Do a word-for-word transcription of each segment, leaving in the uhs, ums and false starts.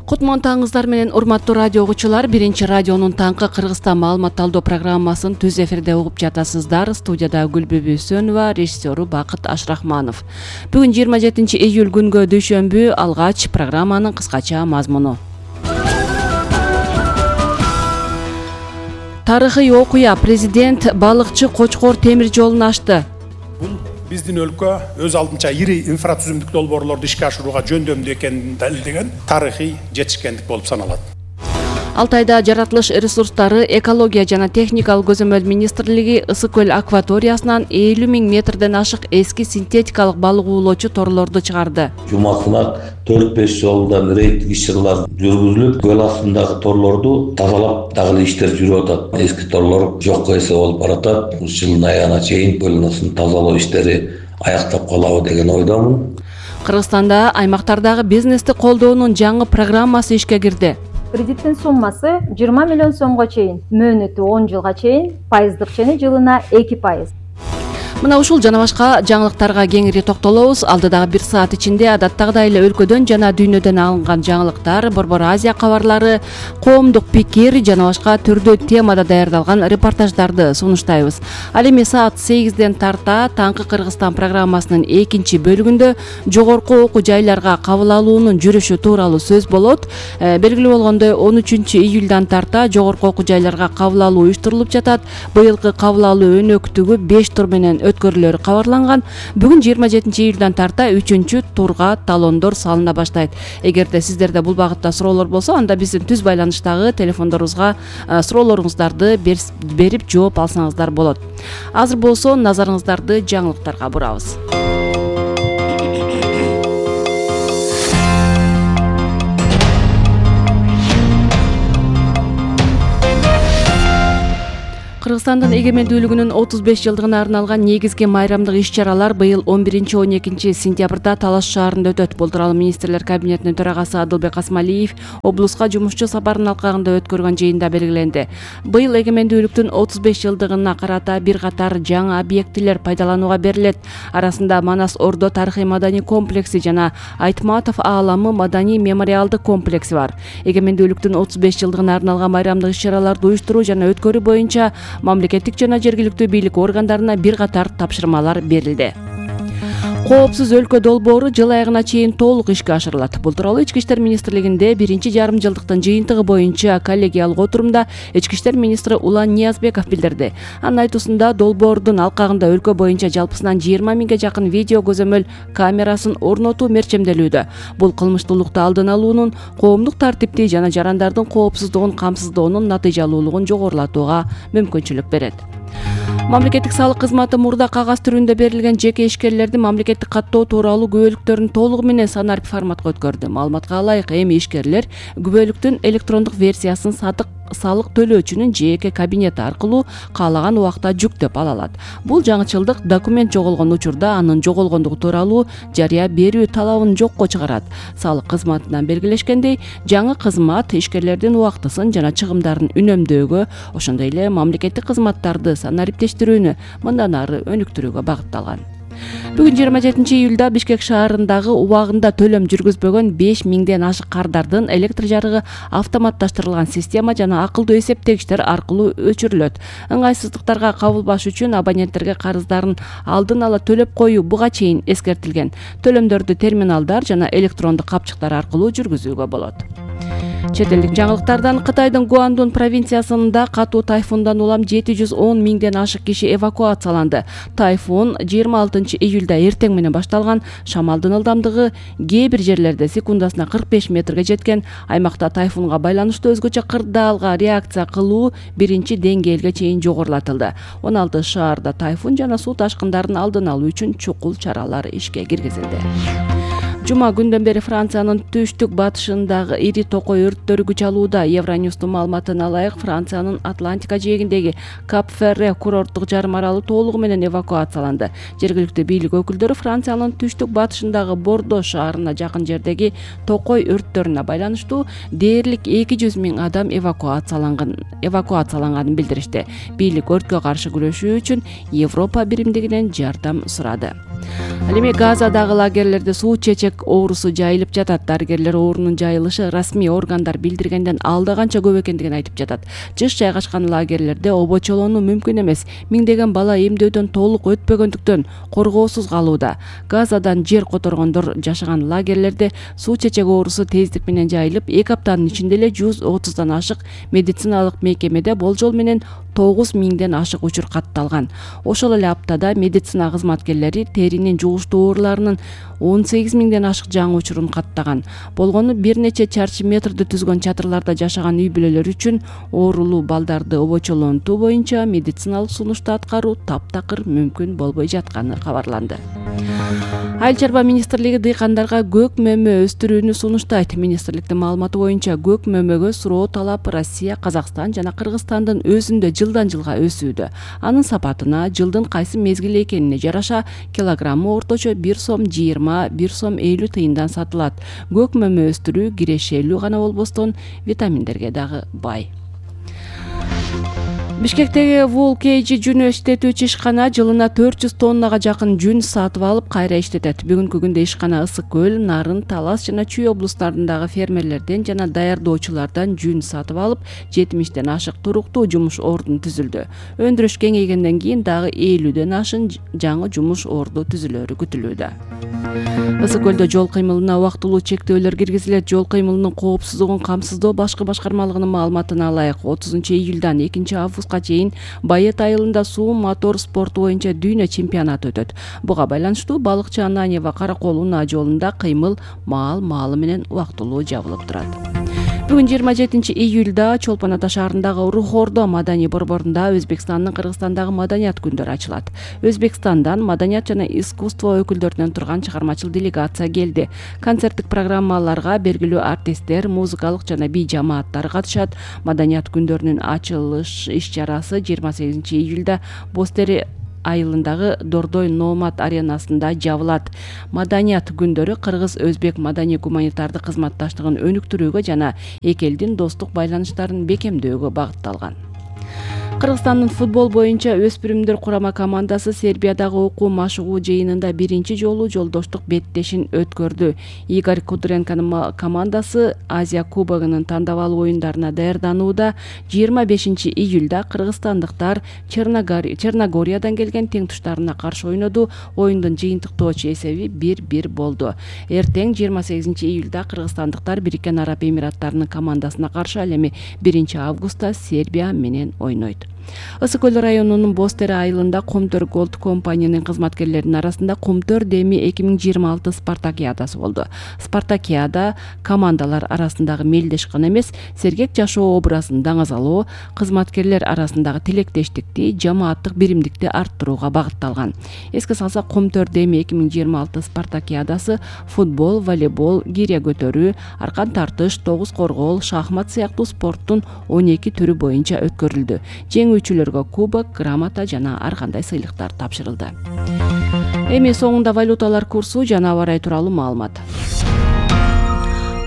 Кутман таңыңыздар менен урматтуу радио угуучулар, биринчи радионун таңкы Кыргызстан маалымат талдоо программасын түз эфирде угуп жатасыздар. Студияда Гүлбүбү Сөнова, режиссеру Бакыт Ашрахманов. Бүгүн жыйырма жетинчи июль күнгө дүйшөмбү. Алгач программанын кыскача мазмуну. Тарыхый окуя. Президент балыкчы Кочкор темир жолун ачты. Биздин өлкө өз алдынча ири инфратүзүмдүк долбоорлорду ишке ашырууга жөндөмдүү экенин далилдеген тарыхый жетишкендик болуп саналат. Алтайда жаратылыш ресурстары, экология жана техникалык көзөмөл министрлиги Ысык көл акваториясынан элүү миң метрден ашык эски синтетикалык балык уулоочу торлорду чыгарды. Жумасына төрт беш жолдан рейдтик иш-чаралар жүргүзүлүп, көл астындагы торлорду тазалап дагы иштер жүрүп атат. Эски торлор жокко эсе болуп баратат. Жылдын аягына чейин көл астын тазалоо иштери аяктап калабы деген ойдомун. Кыргызстанда аймактардагы бизнести колдоонун жаңы программасы ишке кирди. Кредиттин суммасы жыйырма миллион сомго чейин, мөөнөтү он жылга чейин, пайыздык чени жылына эки пайыз. Мына ушул жана башка жаңылыктарга кеңири токтолобуз. Алдыдагы бир саат ичинде адаттагыдай эле өлкөдөн жана дүйнөдөн алынган жаңылыктар, Борбор Азия кабарлары, коомдук пикир жана башка түрдүү темада даярдалган репортаждарды сунуштайбыз. Ал эми саат сегизден тарта Таңкы Кыргызстан программасынын экинчи бөлүгүндө жогорку окуу жайларга кабыл алуунун жүрүшү тууралуу сөз болот. Белгилүү болгондой, он үчүнчү июлдан тарта жогорку окуу жайларга кабыл алуу уюштурулуп жатат. Быйылкы кабыл алуу өнөктүгү беш тур менен өткөрүлөрү кабарланган. Бүгүн жыйырма жетинчи июлдан тарта үчүнчү турга талондор салына баштайт. Эгерде сиздерде бул багытта суроолор болсо, анда биздин түз байланыштагы телефондорубузга суроолоруңуздарды берип жооп алсаңыздар болот. Азыр болсо назарыңыздарды жаңылыктарга бурабыз. Кыргызстандын эгемендүүлүгүнүн отуз беш жылдыгына арналган негизги майрамдык иш-чаралар быйыл он биринчи он экинчи сентябрда Талаш шаарында өтөт. Бул тууралуу министрлер кабинетинин төрагасы Адылбек Асмалиев облуска жумушчу сапарынын алкагында өткөргөн жыйында белгиленди. Быйыл эгемендүүлүктүн отуз беш жылдыгына карата бир катар жаңы объектилер пайдаланууга берилет. Арасында Манас Ордо тарыхый маданий комплекси жана Айтматов ааламы маданий мемориалдык комплекси бар. Эгемендүүлүктүн отуз беш жылдыгына арналган майрамдык иш-чараларды уюштуруу жана өткөрүү боюнча мамлекеттик жана жергиликтүү бийлик органдарына бир катар тапшырмалар берилди. Коопсуз өлкө долбоору жыл аягына чейин толук ишке ашырылат. Бул тууралуу Ички иштер министрлигинде биринчи жарым жылдыктын жыйынтыгы боюнча коллегиялык отурумда Ички иштер министри Улан Ниязбеков билдирди. Анын айтуусунда долбоордун алкагында өлкө боюнча жалпысынан жыйырма миңге жакын видео көзөмөл камерасын орнотуу мерчемделүүдө. Бул кылмыштуулукту алдын алуунун, коомдук тартипти жана жарандардын коопсуздугун камсыздоонун натыйжалуулугун жогорулатууга мүмкүнчүлүк берет. Мамлекеттик салык кызматы мурда кагаз түрүндө берилген жеке ишкерлердин мамлекеттик каттоо тууралуу күбөлүктөрүн толугу менен санарип форматка өткөрдү. Маалыматка ылайык, эми ишкерлер күбөлүктүн электрондук версиясын сатык салык төлөөчүнүн жеке кабинети аркылуу каалаган убакта жүктөп ала алат. Бул жаңычылдык документ жоголгон учурда анын жоголгондугу тууралуу жарыя берүү талабын жокко чыгарат. Салык кызматынан белгилешкендей, жаңы кызмат ишкерлердин убактысын жана чыгымдарын үнөмдөөгө, ошондой эле мамлекеттик кызматтарды санариптештирүүнү мындан ары өнүктүрүүгө багытталган. Бүгүн жыйырма жетинчи июлда Бишкек шаарындагы убагында төлөм жүргүзбөгөн беш миңден ашык кардардын электр жарыгы автоматташтырылган система жана акылдуу эсептегичтер аркылуу өчүрүлөт. Ыңгайсыздыктарга кабылбаш үчүн абоненттерге карыздарын алдын ала төлөп коюу буга чейин эскертилген. Төлөмдөрдү терминалдар жана электрондук капчыктар аркылуу жүргүзүүгө болот. Чет элдик жаңылыктардан Кытайдын Гуандун провинциясында катуу тайфундан улам жети жүз он миңден ашык киши эвакуацияланды. Тайфун жыйырма алтынчы июлда эртең менен башталган. Шамалдын ылдамдыгы кээ бир жерлерде секундасына кырк беш метрге жеткен. Аймакта тайфунга байланыштуу өзгөчө кырдаалга реакция кылуу биринчи деңгээлге чейин жогорулатылды. он алты шаарда тайфун жана суу ташкындарын алдын алуу үчүн чукул чаралар ишке киргизилди. Жума күндөн бери Франциянын түштүк батышындагы ири токой өрттөрү күч алууда. Евроньюстун маалыматына ылайык, Франциянын Атлантика жээгиндеги Кап-Ферре курорттук жарым аралы толугу менен эвакуацияланды. Жергиликтүү бийлик өкүлдөрү Франциянын түштүк батышындагы Бордо шаарына жакын жердеги токой өрттөрүнө байланыштуу дээрлик эки жүз миң адам эвакуацияланган эвакуацияланганын билдиришти. Бийлик өрткө каршы күрөшүү үчүн Европа биримдигинен жардам сурады. Ал эми Газадагы лагерлерде суу чечек ичек оорусу жайылып жатат. Дарыгерлер оорунун жайылышы расмий органдар билдиргенден алда канча көп экендигин айтып жатат. Жыш жайгашкан лагерлерде обочолонуу мүмкүн эмес. Миңдеген бала эмдөөдөн толук өтпөгөндүктөн коргоосуз калууда. Газадан жер которгондор жашаган лагерлерде суу чечек оорусу тездик менен жайылып, эки аптанын ичинде эле жүз отуздан ашык медициналык мекемеде болжол менен тогуз миңден ашык учур катталган. Ошол эле аптада медицина кызматкерлери теринин жугуштуу ооруларынын он сегиз миңден ашык жаңы учурун каттаган. Болгону бир нече чарчы метрди түзгөн чатырларда жашаган үй бүлөлөр үчүн оорулуу балдарды обочолонтуу боюнча медициналык сунушту аткаруу таптакыр мүмкүн болбой жатканы кабарланды. Айыл чарба министрлиги дыйкандарга көк мөмө өстүрүүнү сунуштайт. Министрликтин маалыматы боюнча көк мөмөгө суроо талап Россия, Казакстан жана Кыргызстандын өзүндө жылдан жылга өсүүдө. Анын сапатына, жылдын кайсы мезгили экенине жараша килограммы орточо бир сом жыйырма, бир сом элүү тыйындан сатылат. Көк мөмө өстүрүү кирешелүү гана болбостон витаминдерге дагы бай. Бишкектеги Wool Cage жүн иштетүүчү ишкана жылына төрт жүз тоннага жакын жүн сатып алып кайра иштетет. Бүгүнкү күндө ишкана Ысык көл, Нарын, Талас жана Чүй облустарындагы фермерлерден жана даярдоочулардан жүн сатып алып, жетимиштен ашык туруктуу жумуш ордун түзүлдү. Өндүрүш кеңейгенден кийин дагы элүүдөн ашын жаңы жумуш орду түзүлөрү күтүлүүдө. Ысык көлдө жол кыймылына убактылуу чектөөлөр киргизилет. Жол кыймылынын коопсуздугун камсыздоо башкы башкармалыгынын маалыматына ылайык отузунчу июлдан экинчи августка чейин Байет айылында суу мотор спорту боюнча дүйнө чемпионаты өтөт. Буга байланыштуу балыкчы Ананьева Каракол унаа жолунда кыймыл маал-маалы менен убактылуу жабылып турат. Бүгүн жыйырма жетинчи июлда Чолпон Ата шаарындагы Рухордо маданий борборунда Өзбекстандын Кыргызстандагы маданият күндөрү ачылат. Өзбекстандан маданият жана искусство өкүлдөрүнөн турган чыгармачыл делегация келди. Концерттик программаларга белгилүү артисттер, музыкалык жана бий жамааттар катышат. Маданият күндөрүнүн ачылыш иш-чарасы жыйырма сегизинчи июлда Бостери айылындагы Дордой Номад аренасында жабылат. Маданият күндөрү кыргыз-өзбек маданий гуманитардык кызматташтыгын өнүктүрүүгө жана эки элдин достук байланыштарын бекемдөөгө багытталган. Кыргызстандын футбол боюнча өспүрүмдөр курама командасы Сербиядагы окуу машыгуу жыйынында биринчи жолу жолдоштук беттешин өткөрдү. Игорь Кудренконун командасы Азия кубогунун тандабалуу оюндарына даярданууда. жыйырма бешинчи июлда кыргызстандыктар Черногориядан келген теңтуштарына каршы ойноду. Оюндун жыйынтыктоочу эсеби бир бир болду. Эртең жыйырма сегизинчи июлда кыргызстандыктар Бириккен Араб Эмираттарынын командасына каршы, ал эми биринчи августта Сербия менен ойнойт. Ысык көл районунун Бостери айылында Комтөр Голд компаниянын кызматкерлеринин арасында Комтөр Деми эки миң жыйырма алты спартакиадасы болду. Спартакиада командалар арасындагы мелдеш гана эмес, сергек жашоо образын даңазалоо, кызматкерлер арасындагы тилектештикти, жамааттык биримдикти арттырууга багытталган. Эске салсак, Комтөр Деми эки миң жыйырма алты спартакиадасы футбол, волейбол, гиря көтөрүү, аркан тартыш, тогуз коргоол, шахмат сыяктуу спорттун он эки түрү боюнча өткөрүлдү. Жеңүүчүлөргө кубок, грамота жана ар кандай сыйлыктар тапшырылды. Эми соңунда валюталар курсу жана аба ырайы тууралуу маалымат.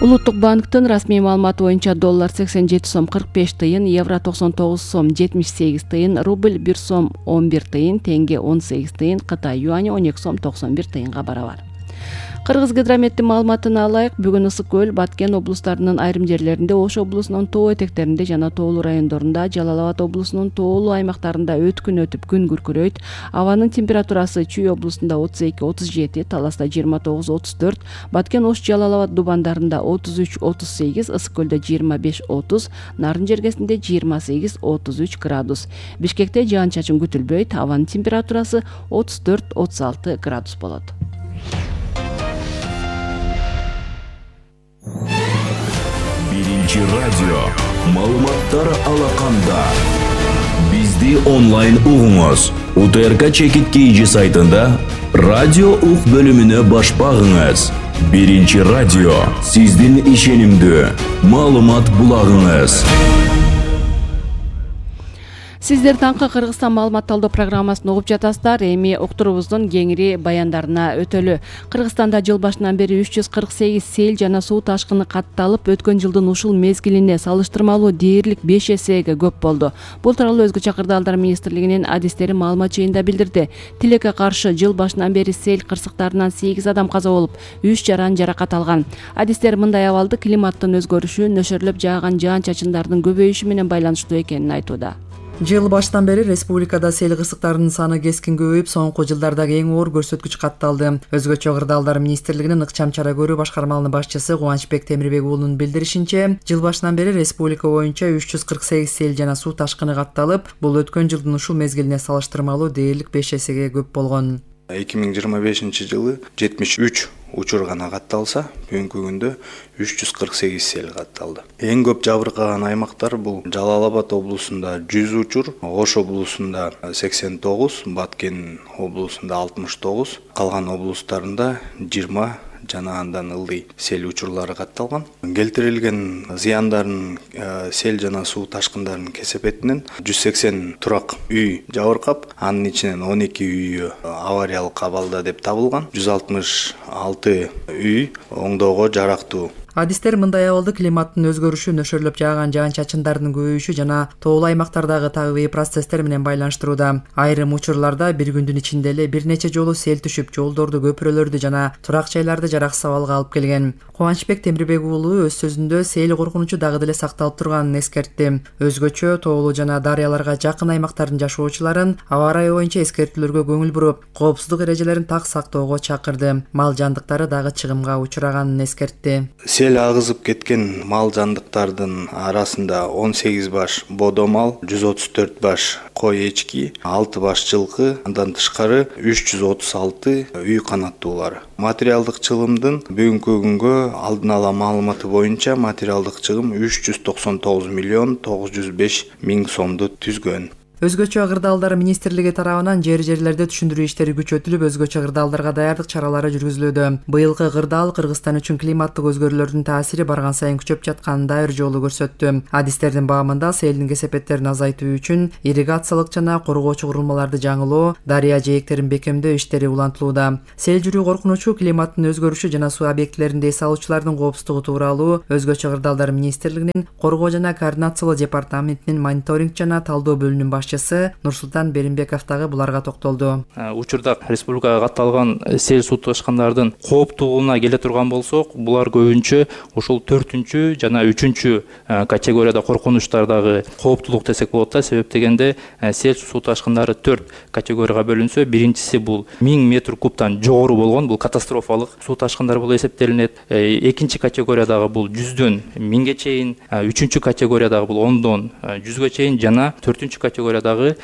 Улуттук банктын расмий маалыматы боюнча доллар сексен жети сом кырк беш тыйын, евро токсон тогуз сом жетимиш сегиз тыйын, рубль бир сом он бир тыйын, тенге он сегиз тыйын, Кытай юани он эки сом токсон бир тыйынга барабар. Кыргыз гидрометтин маалыматына ылайык, бүгүн Ысык көл, Баткен облустарынын айрым жерлеринде, Ош облусунун тоо этектеринде жана тоолуу райондорунда, Жалал Абад облусунун тоолуу аймактарында өткүн өтүп күн күркүрөйт. Абанын температурасы Чүй облусунда отуз эки отуз жети, Таласта жыйырма тогуз отуз төрт, Баткен, Ош, Жалал Абад дубандарында отуз үч отуз сегиз, Ысык көлдө жыйырма беш отуз, Нарын жергесинде жыйырма сегиз отуз үч градус. Бишкекте жаан-чачын күтүлбөйт, абанын температурасы отуз төрт отуз алты градус болот. Биринчи радио маалыматтар алаканда. Бизди онлайн угуңуз. УТРК Чекит Кейджи сайтында радио ук бөлүмүнө баш багыңыз. Биринчи радио сиздин ишенимдүү маалымат булагыңыз. Сиздер таңкы Кыргызстан маалымат талдоо программасын угуп жатасыздар. Эми уктурубуздун кеңири баяндарына өтөлү. Кыргызстанда жыл башынан бери үч жүз кырк сегиз сел жана суу ташкыны катталып, өткөн жылдын ушул мезгилине салыштырмалуу дээрлик беш эсеге көп болду. Бул тууралуу Өзгөчө кырдаалдар министрлигинин адистери маалымат жыйында билдирди. Тилекке каршы жыл башынан бери сел кырсыктарынан сегиз адам каза болуп, үч жаран жаракат алган. Адистер мындай абалды климаттын өзгөрүшү, нөшөрлөп жааган жаан-чачындардын көбөйүшү менен байланыштуу экенин айтууда. Жыл башынан бери республикада сел кырсыктарынын саны кескин көбөйүп, соңку жылдардагы эң оор көрсөткүч катталды. Өзгөчө кырдаалдар министрлигинин ыкчам чара көрүү башкармалынын башчысы Кубанычбек Темирбек уулунун билдиришинче, жыл башынан бери республика боюнча үч жүз кырк сегиз сел жана суу ташкыны катталып, бул өткөн жылдын ушул мезгилине салыштырмалуу дээрлик беш эсеге көп болгон. эки миң жыйырма бешинчи жылы жетимиш үч учур гана катталса, бүгүнкү күндө үч жүз кырк сегиз сел катталды. Эң көп жабыркаган аймактар бул Жалал Абад облусунда жүз учур, Ош облусунда сексен тогуз, Баткен облусунда алтымыш тогуз, калган облустарында жыйырма жана андан ылдый сел учурлары катталган. Келтирилген зыяндардын сел жана суу ташкындарынын кесепетинен жүз сексен турак үй жабыркап, анын ичинен он эки үйү авариялык абалда деп табылган. жүз алтымыш алты үй оңдоого жарактуу. Адистер мындай абалды климаттын өзгөрүшү, нөшөрлөп жааган жаан-чачындардын көбөйүшү жана тоолуу аймактардагы табигый процесстер менен байланыштырууда. Айрым учурларда бир күндүн ичинде эле бир нече жолу сел түшүп, жолдорду, көпүрөлөрдү жана турак жайларды жараксыз абалга алып келген. Кубанычбек Темирбек уулу өз сөзүндө сел коркунучу дагы деле сакталып турганын эскертти. Өзгөчө тоолуу жана дарыяларга жакын аймактардын жашоочуларын аба ырайы боюнча эскертүүлөргө көңүл буруп, коопсуздук эрежелерин так сактоого чакырды. Мал жандыктары дагы чыгымга учураганын эскертти. Сел агызып кеткен мал жандыктардын арасында он сегиз баш бодо мал, жүз отуз төрт баш кой эчки, алты баш жылкы, андан тышкары үч жүз отуз алты үй канаттуулары. Материалдык чыгымдын бүгүнкү күнгө алдын ала маалыматы боюнча материалдык чыгым үч жүз токсон тогуз миллион тогуз жүз беш миң сомду түзгөн. Өзгөчө кырдаалдар министрлиги тарабынан жер-жерлерде түшүндүрүү иштери күчөтүлүп, өзгөчө кырдаалдарга даярдык чаралары жүргүзүлүүдө. Быйылкы кырдаал Кыргызстан үчүн климаттык өзгөрүүлөрдүн таасири барган сайын күчөп жатканын дайыр жолу көрсөттү. Адистердин баамында селдин кесепеттерин азайтуу үчүн ирригациялык жана коргоочу курулмаларды жаңылоо, дарыя жээктерин бекемдөө иштери улантылууда. Сел жүрүү коркунучу, климаттын өзгөрүшү жана суу объектилеринде эс алуучулардын коопсуздугу тууралуу Өзгөчө кырдаалдар министрлигинин коргоо жана координациялоо департаментинин мониторинг жана талдоо бөлүмүнүн Нурсултан Беримбеков дагы буларга токтолду. Учурда республикага катталган сел суу ташкындардын кооптуулугуна келе турган болсок, булар көбүнчө ушул төртүнчү жана үчүнчү категорияда коркунучтардагы кооптуулук десек болот да. Себеп дегенде сел суу ташкындары төрт категорияга бөлүнсө, биринчиси бул миң метр кубтан жогору болгон, бул катастрофалык суу ташкындар болуп эсептелинет. Экинчи категориядагы бул жүздөн миңге чейин, үчүнчү категориядагы бул ондон жүзгө чейин жана төртүнчү категорияда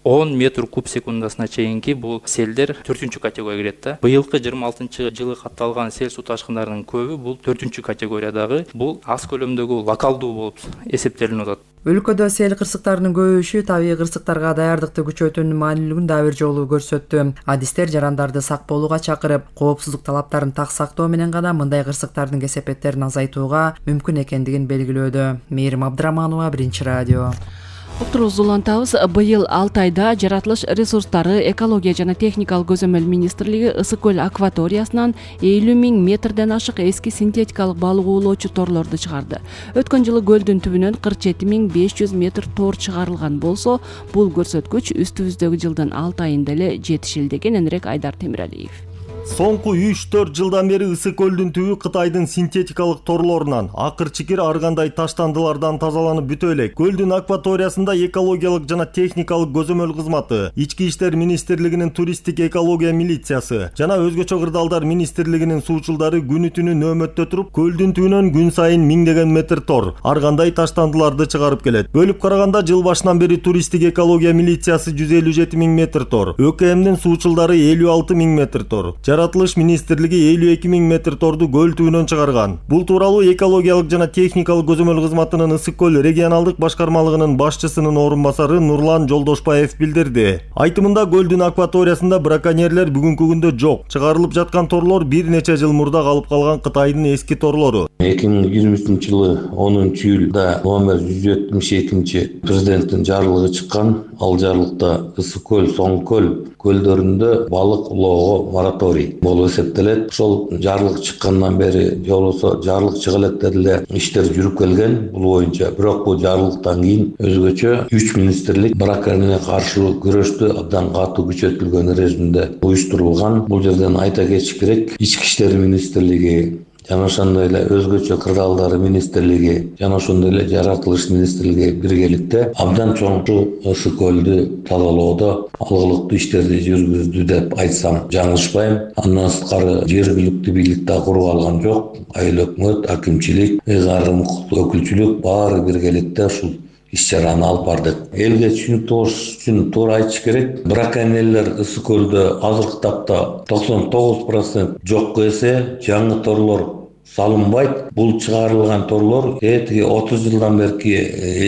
он метр куб секундасына чейинки бул селдер төртүнчү категорияга кирет да. Быйылкы жыйырма алтынчы жылы катталган сел суу ташкындарынын көбү бул төртүнчү категориядагы, бул аз көлөмдөгү локалдуу болуп эсептелип атат. Өлкөдө сел кырсыктарынын көбөйүшү табигый кырсыктарга даярдыкты күчөтүүнүн маанилүүлүгүн дагы бир жолу көрсөттү. Адистер жарандарды сак болууга чакырып, коопсуздук талаптарын так сактоо менен гана мындай кырсыктардын кесепеттерин азайтууга мүмкүн экендигин белгилөөдө. Мээрим Абдыраманова, Биринчи радио. Уктурубузду улантабыз. Быйыл алты айда жаратылыш ресурстары, экология жана техникалык көзөмөл министрлиги Ысык көл акваториясынан элүү миң метрден ашык эски синтетикалык балык уулоочу торлорду чыгарды. Өткөн жылы көлдүн түбүнөн кырк жети миң беш жүз метр тор чыгарылган болсо, бул көрсөткүч үстүбүздөгү жылдын алты айында эле жетишилди. Кененирээк Айдар Темиралиев. Соңку үч төрт жылдан бери Ысык көлдүн түбү Кытайдын синтетикалык торлорунан, акыр чикир ар кандай таштандылардан тазаланып бүтө элек. Көлдүн акваториясында экологиялык жана техникалык көзөмөл кызматы, Ички иштер министрлигинин туристтик экология милициясы жана Өзгөчө кырдаалдар министрлигинин суучулдары күнү түнү нөөмөттө туруп, көлдүн түбүнөн күн сайын миңдеген метр тор, ар кандай таштандыларды чыгарып келет. Бөлүп караганда жыл башынан бери туристтик экология милициясы жүз элүү жети миң метр тор, ӨКМдин суучулдары элүү алты миң метр тор, жаратылыш министрлиги элүү эки миң метр торду көл түбүнөн чыгарган. Бул тууралуу экологиялык жана техникалык көзөмөл кызматынын Ысык көл регионалдык башкармалыгынын башчысынын орун басары Нурлан Жолдошбаев билдирди. Айтымында көлдүн акваториясында браконьерлер бүгүнкү күндө жок. Чыгарылып жаткан торлор бир нече жыл мурда калып калган Кытайдын эски торлору. эки миң жыйырма үчүнчү жылы онунчу июлда номер жүз жетимиш экинчи президенттин жарлыгы чыккан. Ал жарлыкта Ысык көл, Соң көл көлдөрүндө балык улоого мораторий болуп эсептелет. Ошол жарлык чыккандан бери же болбосо жарлык чыга электе деле иштер жүрүп келген бул боюнча. Бирок бул жарлыктан кийин өзгөчө үч министрлик браконьерлерге каршы күрөштү абдан катуу күчөтүлгөн режимде уюштурулган. Бул жерден айта кетиш керек, Ички иштер министрлиги жана ошондой эле өзгөчө кырдаалдары министрлиги жана ошондой эле жаратылыш министрлиги биргеликте абдан чоң Ысык көлдү тазалоодо алгылыктуу иштерди жүргүздү деп айтсам жаңылышпайм. Андан сырткары жергиликтүү бийлик да куруп алган жок. Айыл өкмөт, акимчилик, ыйгарым өкүлчүлүк баары биргеликте ушул иш-чараны алып бардык. Элге түшүнүктүү болуш үчүн туура айтыш керек. Браконьерлер Ысык көлдө азыркы тапта токсон тогуз процент жокко эсе, жаңы торлор салынбайт. Бул чыгарылган торлор этиги отуз жылдан берки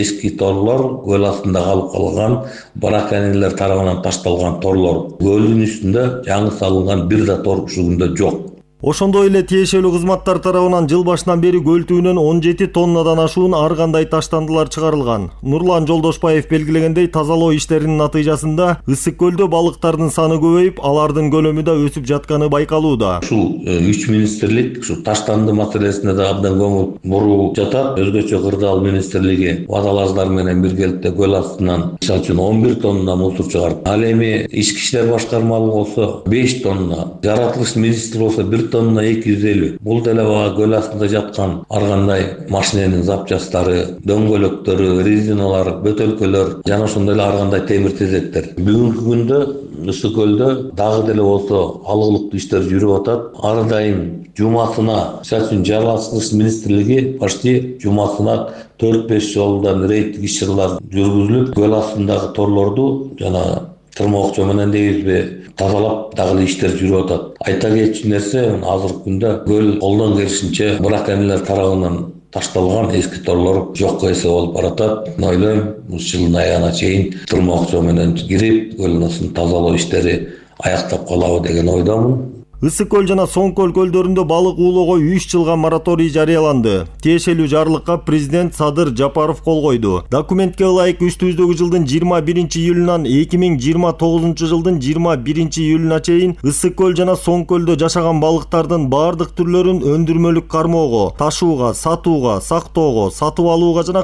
эски торлор, көл астында калып калган браконьерлер тарабынан ташталган торлор. Көлдүн үстүндө жаңы салынган бир да тор ушул күндө жок. Ошондой эле тиешелүү кызматтар тарабынан жыл башынан бери көл түбүнөн он жети тоннадан ашуун ар кандай таштандылар чыгарылган. Нурлан Жолдошбаев белгилегендей, тазалоо иштеринин натыйжасында Ысык көлдө балыктардын саны көбөйүп, алардын көлөмү да өсүп жатканы байкалууда. Ушул үч министрлик ушу таштанды маселесине да абдан көңүл буруп жатат. Өзгөчө кырдаал министрлиги водолаздар менен биргеликте көл астынан мисалы үчүн он бир тонна мусор чыгарып, ал эми ички иштер башкармалыгы болсо беш тонна, жаратылыш министри болсо бир тонна эки жүз элүү. Бул деле бага көл астында жаткан ар кандай машиненин запчастары, дөңгөлөктөрү, резиналар, бөтөлкөлөр жана ошондой эле ар кандай темир тезектер. Бүгүнкү күндө Ысык көлдө дагы деле болсо алгылыктуу иштер жүрүп атат. Ар дайым жумасына, мисалы үчүн жаратылыш министрлиги почти жумасына төрт беш жолдан рейдтик иш-чаралар жүргүзүлүп, көл астындагы торлорду жана тырмоокчо менен дейбизби тазалап дагы иштер жүрүп атат. Айта кетчү нерсе, азыркы күндө көл колдон келишинче браконьерлер тарабынан ташталган эски торлор жокко эсе болуп баратат. Ойлойм, жылдын аягына чейин тырмоокчо менен кирип, көлдүн астын тазалоо иштери аяктап калабы деген ойдомун. Ысык көл жана Соң көл көлдөрүндө балык уулоого үч жылга мораторий жарыяланды. Тиешелүү жарлыкка президент Садыр Жапаров кол койду. Документке ылайык үстүбүздөгү жылдын жыйырма биринчи июлунан эки миң жыйырма тогузунчу жылдын жыйырма биринчи июлуна чейин Ысык көл жана Соң көлдө жашаган балыктардын бардык түрлөрүн өндүрмөлүк кармоого, ташууга, сатууга, сактоого, сатып алууга жана